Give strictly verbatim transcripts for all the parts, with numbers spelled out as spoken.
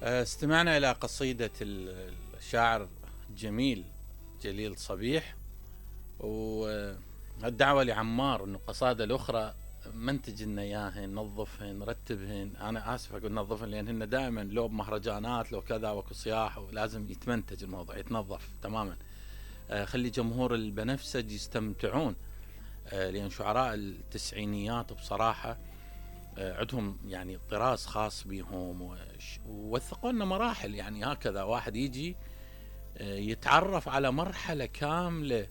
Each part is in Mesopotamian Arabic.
استمعنا إلى قصيدة الشاعر الجميل جليل صبيح، والدعوة لعمار أنه قصائده الأخرى منتج لنا إياهن، نظفهن، نرتبهن. أنا آسف أقول نظفهن لأن هن دائما لو بمهرجانات لو كذا وكو صياح، ولازم يتمنتج الموضوع، يتنظف تماما. خلي جمهور البنفسج يستمتعون، لأن شعراء التسعينيات بصراحة عندهم يعني طراز خاص بهم، ووثقوا لنا مراحل. يعني هكذا واحد يجي يتعرف على مرحلة كاملة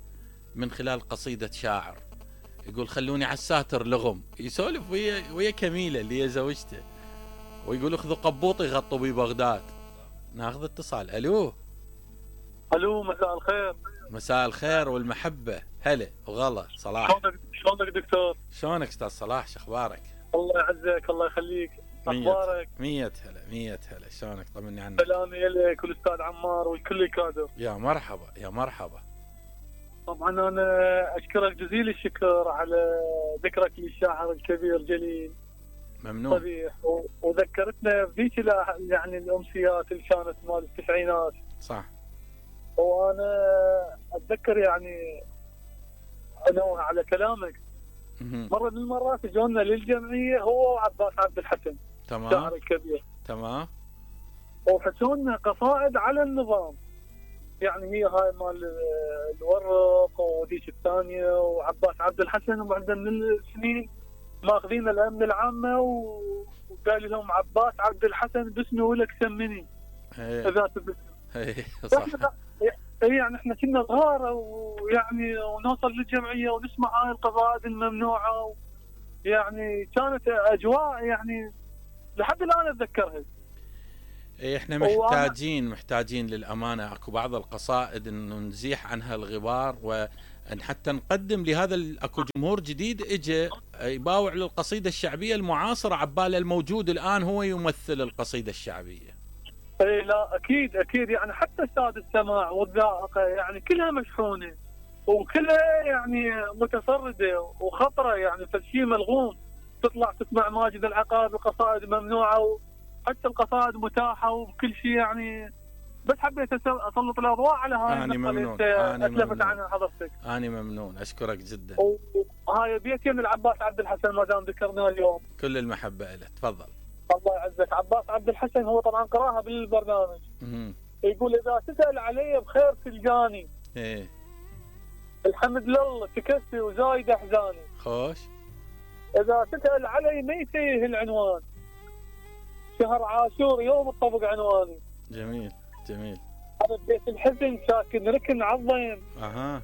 من خلال قصيدة شاعر، يقول خلوني على الساتر لغم، يسولف ويا ويا كميلة اللي هي زوجته، ويقول اخذوا قبوطي غطوا بي بغداد. ناخذ اتصال. الو الو مساء الخير. مساء الخير والمحبة. هلا وغلا صلاح. شلونك شلونك دكتور؟ شلونك استاذ صلاح، شخبارك؟ الله يعزك الله يخليك. اخبارك؟ مية هلا مية هلا. شلونك؟ طمني عنك. سلامي لك والاستاذ عمار والكل الكادر. يا مرحبا يا مرحبا. طبعا انا اشكرك جزيل الشكر على ذكرك للشاعر الكبير جليل ممنون صبيح، وذكرتنا بذيك يعني الامسيات اللي كانت مال التسعينات. صح. وانا اتذكر يعني انوه على كلامك، مرة من المرات جونا للجمعية هو وعباس عبد الحسن تمام الشاعر الكبير، تمام، وحسونا قصائد على النظام. يعني هي هاي مال الورق وديش الثانية وعباس عبد الحسن، وبعدين من السنين ماخذين الأمن العامة وقال لهم عباس عبد الحسن باسمي ولك سمني إذا تبسم. صح. يعني احنا كنا صغار ويعني ونوصل للجمعية ونسمع هاي القصائد الممنوعة، يعني كانت أجواء يعني لحد الآن أتذكرها. احنا محتاجين محتاجين للأمانة اكو بعض القصائد انه نزيح عنها الغبار، وان حتى نقدم لهذا اكو جمهور جديد اجى يباوع للقصيدة الشعبية المعاصرة، عباله الموجود الآن هو يمثل القصيدة الشعبية. اي لا اكيد اكيد، يعني حتى ساد السماع والذائقة يعني كلها مشحونة وكلها يعني متفردة وخطرة، يعني فالشيء ملغوم. تطلع تسمع ماجد العقاد القصائد ممنوعة، حتى القصائد متاحة وكل شيء يعني. بس حبيت اسلط الاضواء على هاي النقطة اللي اتلفت عنها حضرتك. اني ممنون، اشكرك جدا. وهاي بيتين العباس عبد الحسن ما دام ذكرناه اليوم، كل المحبة له. تفضل. الله يعزك. عباس عبد الحسن هو طبعا قراها بالبرنامج. مم. يقول اذا تسأل علي بخير تلقاني، ايه الحمد لله تكفي وزايد احزاني، خوش. اذا تسأل علي ما يتيه العنوان، شهر عاشور يوم الطبق عنواني. جميل جميل. انا ببيت الحزن ساكن ركن عظيم، اها،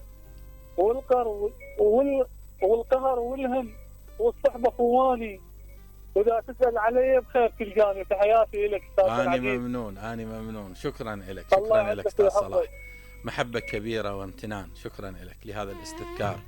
والقر وال... والقهر والهم والصحبه خواني، واذا تسأل علي بخير تلقاني. تحياتي لك استاذ العزيز. اني ممنون اني ممنون. شكرا لك شكرا لك استاذ صلاح، محبة كبيرة وامتنان. شكرا لك لهذا الاستذكار.